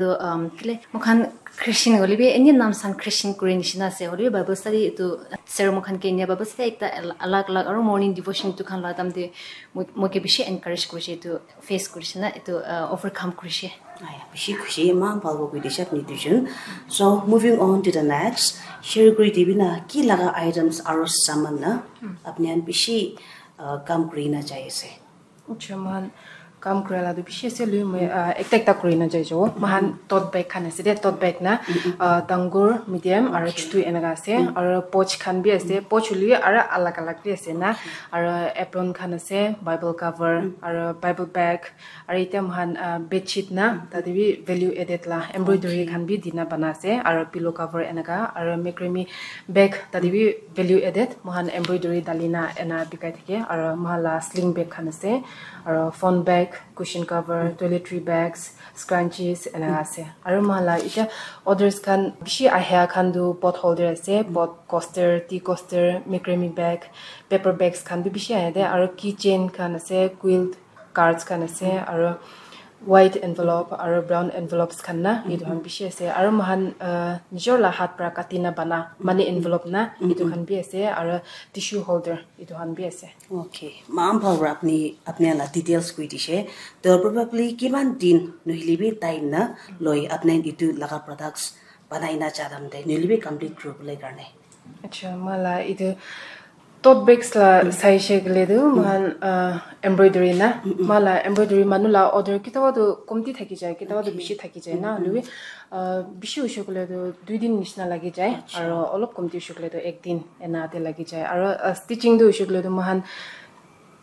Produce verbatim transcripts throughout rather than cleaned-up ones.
So, um, kile, mokhan Christian hoile bi, any nam san Christian kuri nishina ase. Hoile bi Bible study itu, sir mokhan ke enia Bible study ekta al-, alag alag, aro morning devotion itu khan la tam de, mo-, moke bishi encourage kurishe itu, face kurishe na, itu, uh, overcome kurishe. Aya, bishi khushi, eman bhal kuri dishe apni duijon. So, moving on to the next, share kuri dibi na, ki laga items aro saman na, apni khan bishi, uh, kam kuri na jai ase. Acha, mohan kam kura la tu bishi ase, lui moi, ah, ekta ekta kuri na jai jabo. Mohan tote bag khan ase de, tote bag na, ah, dangor, medium, aro chutu enaka ase, aro pouch khan bi ase, pouch hoile bi aro alag alag bi ase na, aro apron khan ase, Bible cover, aro Bible bag, aro etiya mohan, ah, bedsheet na, tate bi value added la, embroidery khan bi dina bana ase, aro pillow cover enaka, aro macrame bag, tate bi value added, mohan embroidery dalina ena bikai thake, aro mohan la sling bag khan ase, aro phone bag, cushion cover, toiletry bags, scrunchies ena ase. Aro mohan la etiya orders khan bishi ahia khan tu pot holder ase, pot coaster, tea coaster, macrame bag, paper bags khan bi bishi ahe de, aro keychain khan ase, quilt cards khan ase, aro white envelope aro brown envelopes khan na, etu khan bishi ase. Aro mohan, uh, nijor la hath para kati na bana money envelope na, etu khan bi ase, aro tissue holder etu khan bi ase. Okay, eman bhal para apni, apni la details koi dishe. To probably kiman din nohile bi time na loi apni etu laga products banai na jadam de, nohile bi complete kuri bole karne. Acha, mohan la etu tote bags la saishe koile tu, mohan, ah, embroidery na, mohan la embroidery manu la order kitaba tu komti thaki jai, kitaba tu bishi thaki jai na, hoilebi, ah, bishi hoishe koile tu dui din nishina lagi jai, aro olop komti hoishe koile tu ek din ena te lagi jai, aro, ah, stitching tu hoishe koile tu mohan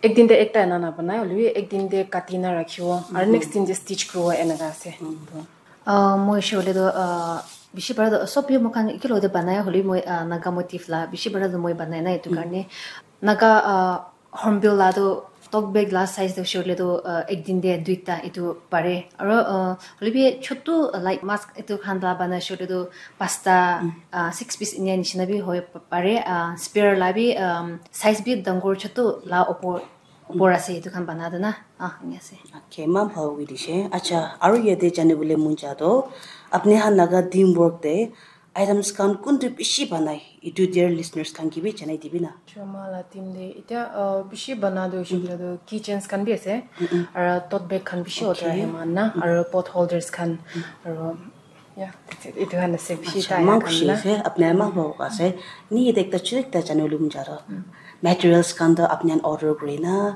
ek din te ekta ena na banai, hoilebi ek din te kati na rakhibo, aro next din te stitch kuribo enaka ase. Ah, moi hoishe koile tu, ah, bishi para tu sob bi moikhan ekelogte banai, hoilebi moi, ah, Naga motif la bishi para tu moi banai na, etu karne Naga, ah, hornbill la tu tote bag la size tu hoishe koile tu, ah, ek din te duita etu pare. Aro, ah, hoilebi chotu, ah, like mask etu khan la banai hoishe koile tu pasta, ah, six piece enia nishina bi hoi pa-, pare. Ah, spare la bi, um, size bi dangor chotu la opor opor ase, etu khan bana tu na, ah, enia ase. Okay, eman bhal koi dishe. Acha, aru yate jani bole mon ja toh, apni khan laga team work te items khan kuntu bishi banai, etu dear listeners khan ke bi janai dibi na. Acha, mohan la team te, etiya, uh, bishi bana tu hoishe koile tu keychains khan bi ase, aru tote bag khan bishi order ahe mohan na, aru pot holders khan, aru Yeah, that's it. Etu khan ase, bishi. Acha, tai eman khan khushi na ase, apni eman bhal ase. Ni yate ekta chiri ekta jani bole mon ja toh. Materials khan toh apni khan order kuri na,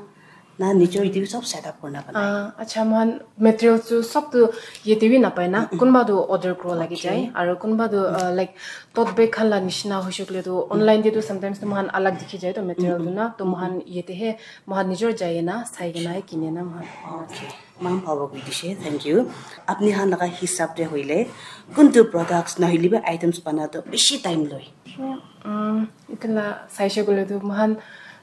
na nijor yate bi sob set up kurina banai? Ah, acha, mohan materials tu sob tu yate bi napai na. Kunba tu order kuro lagi jai, aru kunba tu, ah, like, tote bag khan la nishina hoishe koile tu online te tu sometimes tu mohan alag dikhi jai to material tu na. To mohan yate he, mohan nijor jai na, sai kena he kine na mohan. Okay. Eman bhal para koi dishe, thank you. Apni khan laga hisab te hoile, kuntu products nahoile bi items bana toh bishi time loi? Um, etu la saishe koile tu mohan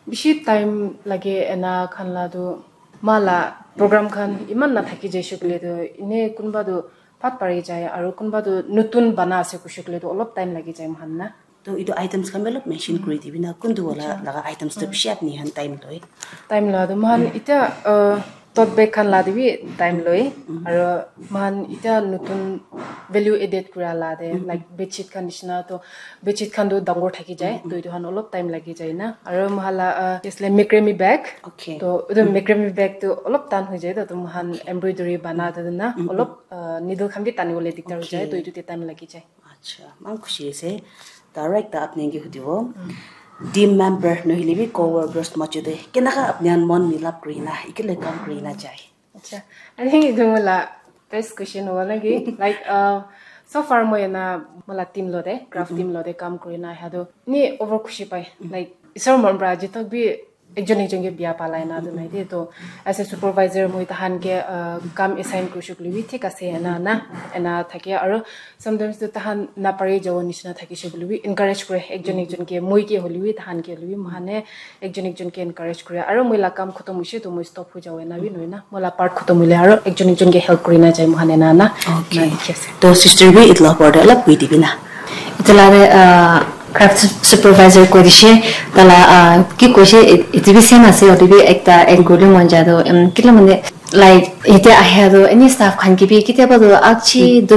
bishi time lage ena khan la tu, mohan la program khan eman na thaki jaishe koile tu, ene kunba tu phat pari jai, aru kunba tu nutun bana ase koishe koile tu olop time lagi jai mohan na. To etu items khan bi olop mention kuri dibi na, kuntu wala laga items toh bishi apni khan time loi? Time la tu mohan etiya, uh, tote bag khan la te bi time loi, aru mohan etiya nutun value added kura la te, like bedsheet khan nishina to, bedsheet khan tu dangor thaki jai, to etu khan olop time lagi jai na, aru mohan la, uh, yes, like macrame bag, okay, to etu macrame bag tu olop tan hoi jai to, to mohan embroidery bana te na, olop, uh, needle khan bi tani bole dikdar hoi jai, to etu te time lagi jai. Acha, eman khushi ase. Direct ta apni ke hudibo. Team member nohile bi co-workers majo te kenaka apni khan mon milap kuri na, ekele kam kuri na jai? Acha, I think etu mola best question hobo naki. Like, uh, so far moi ena mola team lote, craft team lote kam kuri na ahe tu ni over khushi pai. Like, isor mon pra aji tak bi ekjon ekjon ke bia palai na tu nai de. To as a supervisor moi tahan ke, uh, kam assign kurishe koile bi thik ase ena na, ena thake. Aru sometimes tu tahan napari jabo nishina thakishe koile bi encourage kure ekjon ekjon ke, moi ke hoile bi, tahan ke hoile bi, mohan e ekjon ekjon ke encourage kure. Aru moi la kam khotom hoishe tu moi stop hoi jabo ena bi nohoi na, moi la part khotom hoile aru ekjon ekjon ke help kuri na jai mohan ena na. Okay. Na dikhi ase. To sister bi etu la opor te olop koi dibi na. Etu la te, ah, craft supervisor koi dishe, tala, ah, ki koishe, et-, etu bi same ase, hoile bi ekta add kuribole mon jai toh, em, kila mane, Like, yate ahia tu any staff khan ke bi kitiaba tu akchi